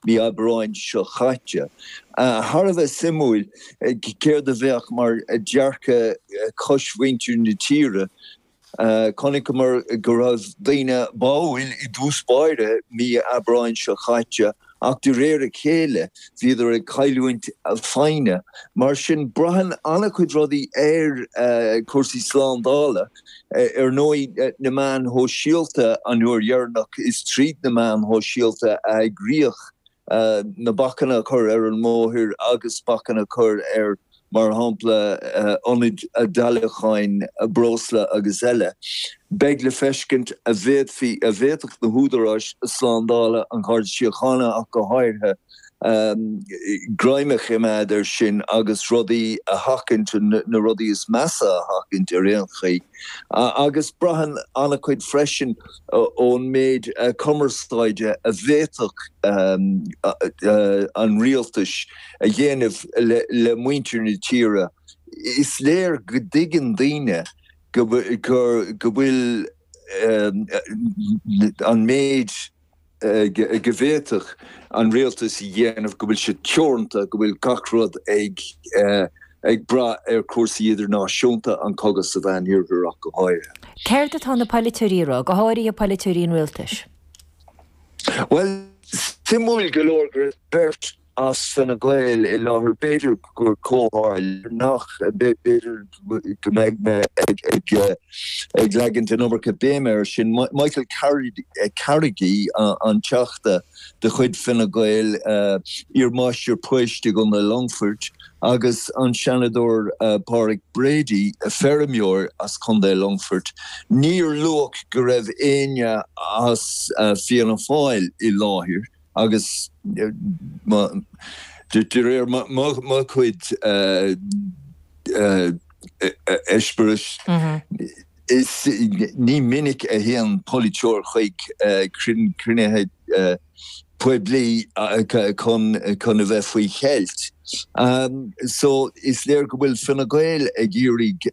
mí Aibreáin seo chaite. Thar a bheith suimiúil céard a bheadh mar dhearcadh coismhuintir na tíre. Chonaiceamar go raibh daoine báúil i dtús báire mí Aibreáin seo chaite ach de réir a chéile bhíodar ag cailliúint foighne. Mar sin braitheann an-chuid rudaí ar chúrsaí slándála. Ar ndóigh na meáin shóisialta an uair dheireanach is tríd na meáin shóisialta a eagraíodh na bacanna a chur ar an mbóthar agus bacanna a chur ar, mar shampla, ionaid dáileacháin breosla agus eile. Beidh le feiscint an bhféadfaí, an bhféadfadh na húdaráis slándála, an Gharda Síochána ach go háirithe, greim a choimeád air sin agus rudaí a sheachaint, na rudaí is measa a sheachaint ar aon chaoi. Agus braitheann an-chuid freisin ón méid cumarsáide a bhféadfadh an rialtais a dhéanamh le muintir na tíre. Is léir go dtuigeann daoine go bhfuil an méid go bhféadfadh an rialtas a dhéanamh, go bhfuil sé teoranta, go bhfuil gach rud ag ag brath ar chúrsaí idirnáisiúnta, an cogadh sa Mheánoirthear ach go háirithe. Céard atá na polaiteoirí a rá, go háirithe polaiteoirí an rialtais? Bhuel, suimiúil go leor go raibh beirt as Fine Gael i láthair, b'fhéidir gur comhtharlú nach, b'fhéidir go mbeidh mé ag leagaint an iomarca béime air sin. Michael Carrigy, an Teachta de chuid Fine Gael, iar-mháistir poist i gContae Longfoirt, agus an Seanadóir Pádraic Brady, feirmeoir as Contae Longfoirt. Níor luadh go raibh éinne as Fianna Fáil i láthair. Agus de réir mo chuid eispéiris, is ní minic a théann polaiteoir chuig cruinnithe poiblí chun a bheith faoi cheilt. So is léir go bhfuil Fine Gael ag iarraidh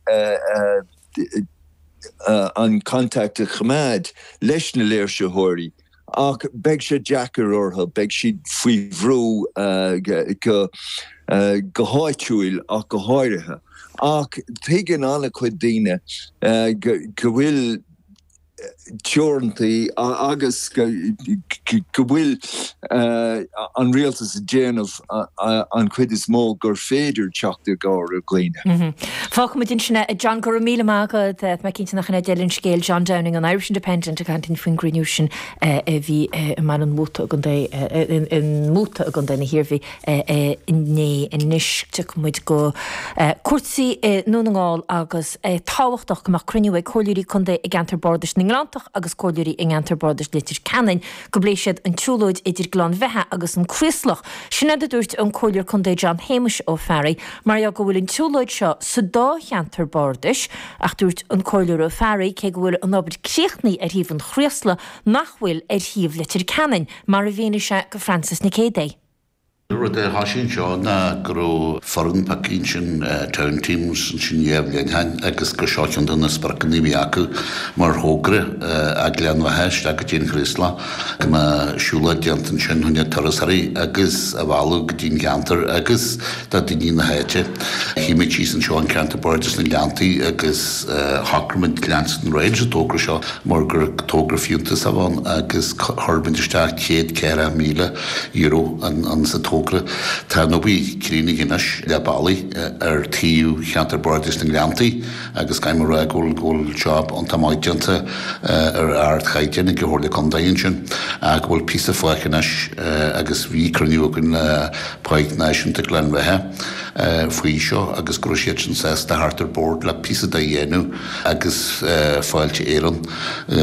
an contact a choimeád leis na léirsitheoirí. Ach beidh sé deacair orthu, beidh siad faoi bhrú go háitiúil ach go háirithe. Ach tuigeann an-chuid daoine go bhfuil teorantaí agus go bhfuil an rialtas ag déanamh an chuid is mó gur féidir teacht i gcabhair ar dhaoine. Fágfaimid ansin é. A John, go raibh míle maith agat. Tá mé cinnte nach in é deireadh an scéil. John Downing an Irish Independent ag caint linn faoin gcruinniú sin a bhí i mBaile an Mhóta i gContae i Móta i gContae na hIarmhí inné. Anois tiocfaidh muid go cúrsaí i nDún na nGall agus é tábhachtach go mbeadh cruinniú ag comhairleoirí contae i gceantar bardais na nGleanntach agus comhairleoirí i gceantar bardais Leitir Ceanainn go bpléifidh siad an tsiúlóid idir Gleann Bheatha agus an Craoslach. Sin é a dúirt an Comhairleoir Contae John Shéamuis Ó Fearraigh, mar gheall go bhfuil an tsiúlóid seo sa dá cheantar bardais, ach dúirt an Comhairleoir Ó Fearraigh, cé go bhfuil an obair críochnaithe ar thaobh an Chraoslaigh, nach bhfuil ar thaobh Leitir Ceanainn, mar a mhínigh sé go Frances Nic Géadaigh. Rud a thoisigh anseo ná go raibh foireann pioctha ansin, Town Teams, ansin dhá bhliain ó shin agus gur seo ceann de na spriocanna a bhí acu mar thogra ó Ghleann Bheatha isteach go dtí an Chraoslach, go mbeadh siúlóid déanta ansin chun na turasóirí agus a mhealladh go dtí an ceantar agus do daoine na háite. Shuigh muid síos anseo in Ceantar Bardais na nGleanntaí agus shocraigh muid leanstan ar aghaidh leis an togra seo mar gur togra fiúntasach a bhí ann agus chuir muid isteach €104,000 euro an sa togra. Tá an obair críochnaithe anois leath bealaigh ar taobh Cheantar Bardais na nGleanntaí agus caithfidh mé a rá go bhfuil go bhfuil job iontach maith déanta ar ardchaighdeán ag an Chomhairle Contae ansin ach go bhfuil píosa fágtha anois agus bhí cruinniú againn le Páirc Náisiúnta Ghleann Bheatha faoi seo agus go raibh siadsan sásta theacht ar bord le píosa de a dhéanamh agus Fáilte Éireann.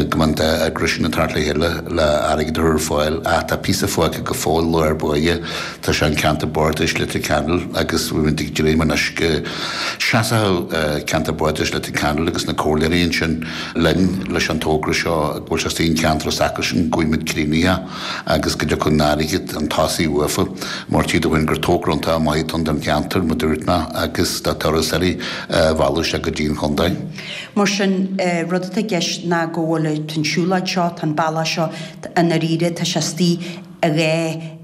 go mbeadh an dá eagras sin ag teacht le chéile le airgead a chur ar fáil ach tá píosa fágtha go fóill lár báire, tá sé in Ceantar Bardais Leitir Ceanainn agus bhí muid ag dréim anois go seasfadh Ceantar Bardais Leitir Ceanainn agus na comhairleoirí ansin linn leis an togra seo go bhfuil sé istigh in ceantar s'acusan go bhfaighidh muid críochnaithe agus go dtiocfaidh an airgead chun tosaigh uafa mar tchí tú féin gur togra iontach maith atá ann don cheantar mar dúirt mé agus do turasóirí a mhealladh isteach go dtí an chontae. Mar sin, rud atá i gceist ná go bhfuil, tá an siúlóid seo, tá an bealach seo, i ndáiríre, tá sé istigh i dhá.